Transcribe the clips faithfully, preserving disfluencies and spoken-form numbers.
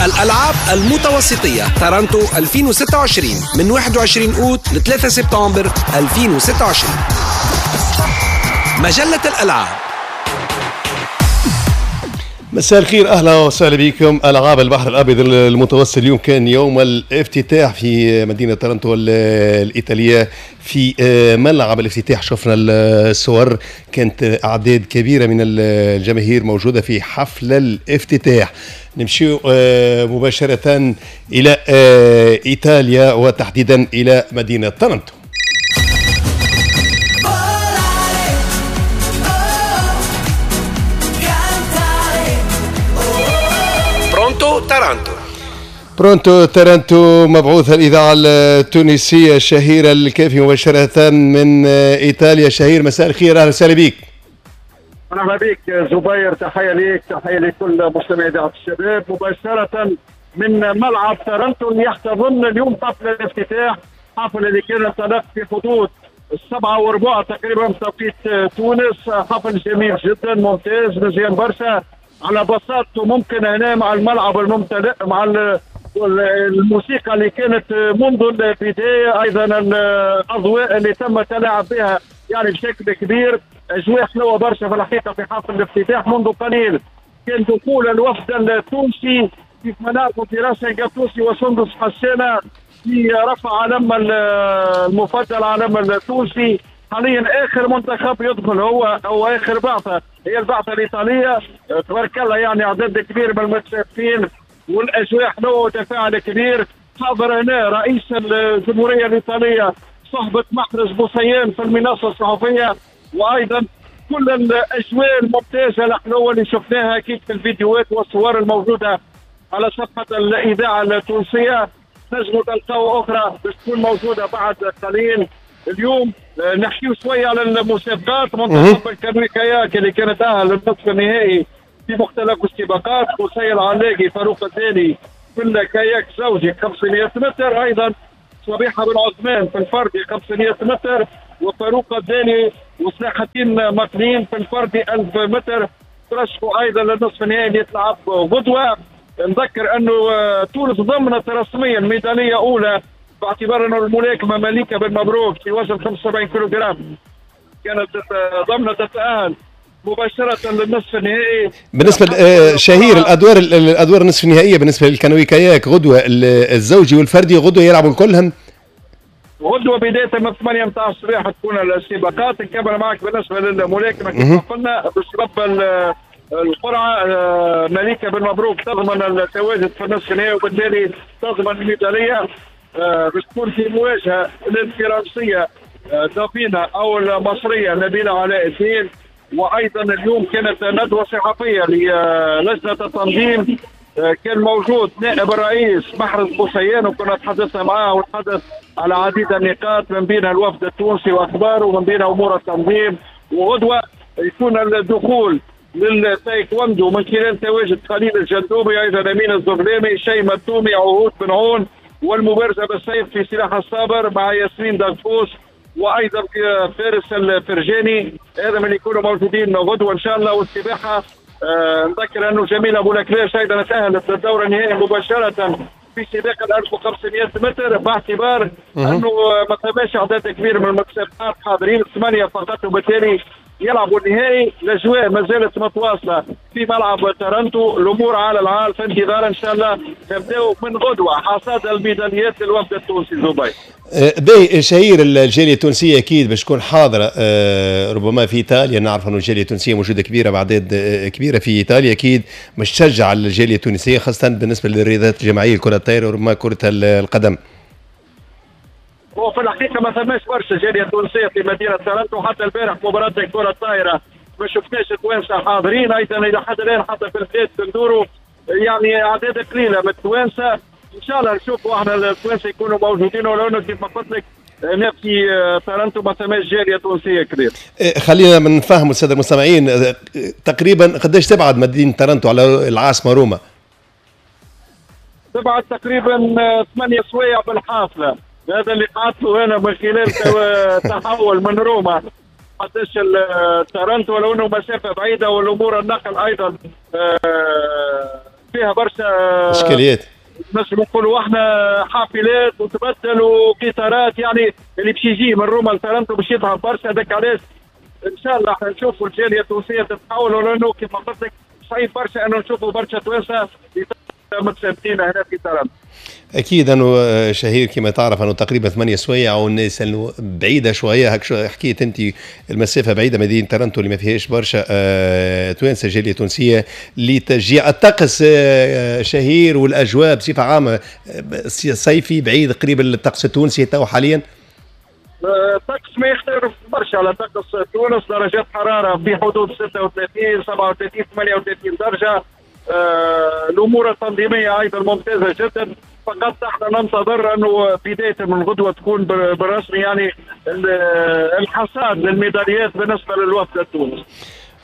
الألعاب المتوسطية تارانتو ألفين وستة وعشرين من واحد وعشرين أوت ل ثلاثة سبتمبر ألفين وستة وعشرين. مجلة الألعاب. مساء الخير، اهلا وسهلا بكم. العاب البحر الابيض المتوسط اليوم كان يوم الافتتاح في مدينة تارانتو الايطالية في ملعب الافتتاح. شفنا الصور، كانت اعداد كبيرة من الجماهير موجودة في حفل الافتتاح. نمشي مباشرة الى ايطاليا وتحديدا الى مدينة تارانتو. تارانتو. Pronto تارانتو، مبعوث الإذاعة التونسية شهيرة الكافي مباشرة من إيطاليا. شهير، مساء الخير، أهلا وسهلا بك. مرحبا بك زبير، تحية لك، تحية لكل مستمعي إذاعة الشباب مباشرة من ملعب تارانتو اللي يحتضن اليوم حفل الافتتاح، حفل اللي كان انطلق في حدود السبعة وربع تقريبا بتوقيت تونس. حفل جميل جدا، ممتاز، مزيان برشا على بساطته، ممكن هنا مع الملعب الممتلئ، مع الموسيقى اللي كانت منذ البداية، ايضا الاضواء اللي تم التلاعب بها يعني بشكل كبير. اجواء حلوة برشا في الحقيقة في حفل الافتتاح. منذ قليل كان دخول الوفد التونسي كيف ما نعرفوا في راس التونسي وسندس حسانه في رفع علم المفضل علم التونسي. حاليا اخر منتخب يدخل هو او اخر بعثه هي البعثة الايطالية. تبارك الله، يعني عدد كبير من المتشاركين والاجواء حلوة وتفاعل كبير. حاضر هنا رئيس الجمهورية الايطالية صحبه محرز بوسيان في المنصة الصحفية، وايضا كل الاجواء الممتازة الحلوة اللي شفناها اكيد في الفيديوهات والصور الموجودة على صفحة الاذاعة التونسية. نجموا تلقاو اخرى باش تكون موجودة بعد قليل. اليوم نحكيو شوية على المسابقات. منتخب الكانوي كاياك اللي كانت تأهل للنصف النهائي في مختلف السباقات، قصي العلاقي، فاروق الداني في الكاياك زوجي خمسمئة متر، ايضا صبيحة بن عثمان في الفردي خمسمئة متر، وفاروق الداني وسلاح الدين مقنين في الفردي ألف متر. ترشحوا ايضا للنصف النهائي اللي يتلعب غدوه. نذكر انه تونس ضمنت رسميا ميدالية اولى باعتبار انه الملاكمة مليكة بن مبروك في وزن خمسة وسبعين كيلوغرام كانت ضمنت التاهل مباشرة للنصف النهائي. بالنسبة شهير، الادوار الادوار النصف النهائية بالنسبة للكانوي كاياك غدوه الزوجي والفردي غدوه يلعبوا كلهم غدوه بداية من ثمانية متاع الصباح تكون السباقات. نكمل معك بالنسبة للملاكمه كما قلنا بسبب القرعة مليكة بن مبروك تضمن التواجد في النصف النهائي وبالتالي تضمن الميداليه. باش تكون في مواجهة للفرنسيه دافينا او المصرية نبيلة علاء الدين. وايضا اليوم كانت ندوه صحفية للجنة التنظيم، كان موجود نائب الرئيس محرز بوسيان وكنا تحدثنا معاه وتحدث على عديد النقاط من بينها الوفد التونسي واخباره ومن بينها امور التنظيم. وغدوه يكون الدخول للتايكوندو من خلال تواجد خليل الجندوبي، ايضا امين الزغلامي، شيماء التومي، عهود بن عون، والمبارزه بالسيف في سلاح الصابر مع ياسمين دغفوس، وايضا فارس الفرجاني. هذا من يكونوا موجودين غدوه ان شاء الله. والسباحه آه نذكر انه جميلة ابو لكلاش ايضا تاهلت للدور النهائي مباشرة في سباق ال ألف وخمسمئة متر باعتبار انه ما ثماش اعداد كبير من المتسابقات حاضرين، ثمانية فقط، وبالتالي يلعبوا النهائي. الاجواء ما زالت متواصلة في ملعب تارانتو، الامور على العال في انتظار ان شاء الله نبداو من غدوه حصاد الميداليات للوفد التونسي. زبير باهي شهير، الجالية التونسية اكيد باش تكون حاضره ربما في ايطاليا. نعرف انه الجالية التونسية موجودة كبيرة باعداد كبيرة في ايطاليا، اكيد باش تشجع الجالية التونسية خاصة بالنسبة للرياضات الجماعية، كره الطائرة وربما كره القدم. هو في الحقيقة ما ثماش برشا جالية تونسية في مدينة تارانتو، حتى البارح مباراة الكره الطائرة ما شفناش التوانسة حاضرين. ايضا الى حد الان حتى في البلاد بندورو يعني اعداد قليله من التوانسة. ان شاء الله نشوفوا احنا التوانسة يكونوا موجودين، ولو انه كيف ما قلت لك هنا في تارانتو ما ثماش جالية تونسية كبيرة. خلينا من نفهموا السادة المستمعين تقريبا قداش تبعد مدينة تارانتو على العاصمة روما؟ تبعد تقريبا ثمانية سوايع بالحافله. هذا اللي قعدت له انا من خلال تحول من روما قداش تارانتو، ولو انه مسافة بعيدة والامور النقل ايضا فيها برشا اشكاليات، نجم نقولوا احنا حافلات وتبدل وقطارات، يعني اللي باش يجي من روما لتورنتو باش يتعب برشا. هذاك علاش ان شاء الله احنا نشوفوا الجالية التونسية تتحول، ولانه كيف قلت لك صعيب برشا انه نشوفوا برشا توانسة متثبتين هنا في تورنتو. اكيد انه شهير كما تعرف انه تقريبا ثمانية سوايع والناس انه بعيدة شوية، هك حكيت انت المسافة بعيدة، مدينة تورنتو اللي ما فيهاش برشا آه توانسة، جالية تونسية لتشجيع الطقس آه شهير والاجواء بصفة عامة صيفي بعيد قريب الطقس التونسي تو حاليا. الطقس ما يختلف برشا على طقس تونس، درجات حرارة في حدود ستة وثلاثين سبعة وثلاثين ثمانية وثلاثين درجه. آه، الامور التنظيمية ايضا ممتازة جدا، فقط احنا ننتظر انه بداية من غدوه تكون بالرسمي يعني الحصاد للميداليات بالنسبة للوفد التونسي.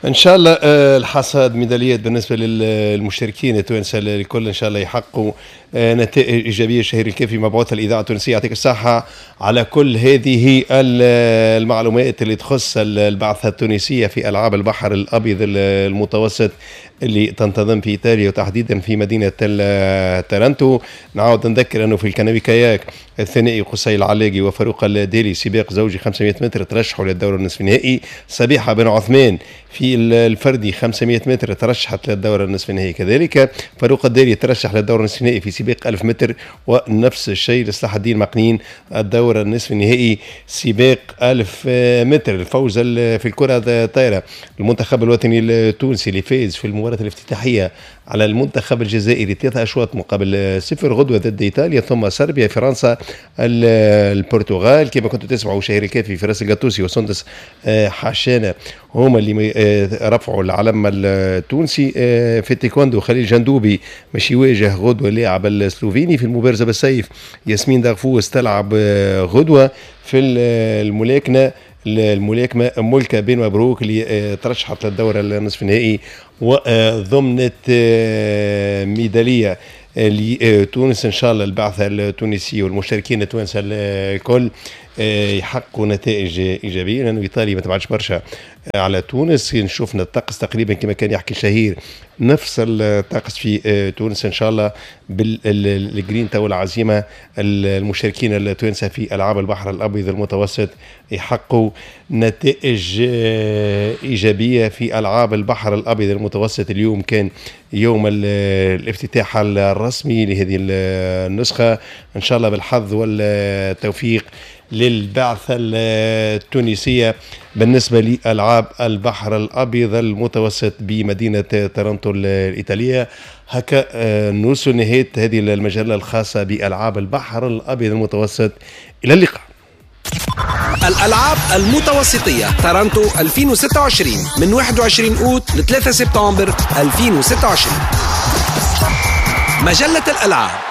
ان شاء الله الحصاد ميداليات بالنسبة للمشاركين التوانسة الكل، ان شاء الله يحققوا نتائج ايجابية. شهير الكافي مبعوث الاذاعة التونسية، يعطيك الصحة على كل هذه المعلومات اللي تخص البعثة التونسية في العاب البحر الابيض المتوسط اللي تنتظم في ايطاليا وتحديدا في مدينة تورنتو. نعاود نذكر انه في الكانوي كاياك الثنائي قصي العلاقي وفاروق الدالي سباق زوجي خمسمائة متر ترشحوا للدور النصف النهائي. صبيحة بن عثمان في الفردي خمسمائة متر ترشحت للدور النصف النهائي، كذلك فاروق الدالي ترشح للدور النصف النهائي في سباق ألف متر، ونفس الشيء لصلاح الدين مقنين الدور النصف النهائي سباق ألف متر. الفوز في الكرة الطايرة المنتخب الوطني التونسي اللي فاز في المباراة الافتتاحية على المنتخب الجزائري ثلاثة أشواط مقابل صفر، غدوة ضد إيطاليا ثم صربيا فرنسا البرتغال. كما كنتوا تسمعوا شهير الكافي فراس القطوسي وسندس حشانة هما اللي رفعوا العلم التونسي. في التايكوندو خليل جندوبي مش يواجه غدوة اللاعب السلوفيني. في المبارزة بالسيف ياسمين دغفوس تلعب غدوة. في الملاكمة الملاكمة ملكة بن مبروك اللي ترشحت للدور النصف النهائي وضمنت ميدالية لتونس. إن شاء الله البعثة التونسية والمشاركين التوانسة الكل يحققوا نتائج إيجابية، لأنه إيطاليا ما تبعدش برشا على تونس. نشوفنا الطقس تقريبا كما كان يحكي شهير نفس الطقس في تونس. إن شاء الله بالجرينتا والعزيمة المشاركين التوانسة في ألعاب البحر الأبيض المتوسط يحققوا نتائج إيجابية في ألعاب البحر الأبيض المتوسط. اليوم كان يوم الافتتاح الرسمي لهذه النسخة، إن شاء الله بالحظ والتوفيق للبعثة التونسية بالنسبة لألعاب البحر الأبيض المتوسط بمدينة تورنتو الإيطالية. هكا نوصل نهاية هذه المجلة الخاصة بألعاب البحر الأبيض المتوسط. إلى اللقاء. الألعاب المتوسطية تورنتو ألفين وستة وعشرين من واحد وعشرين أوت ل ثلاثة سبتمبر ألفين وستة وعشرين. مجلة الألعاب.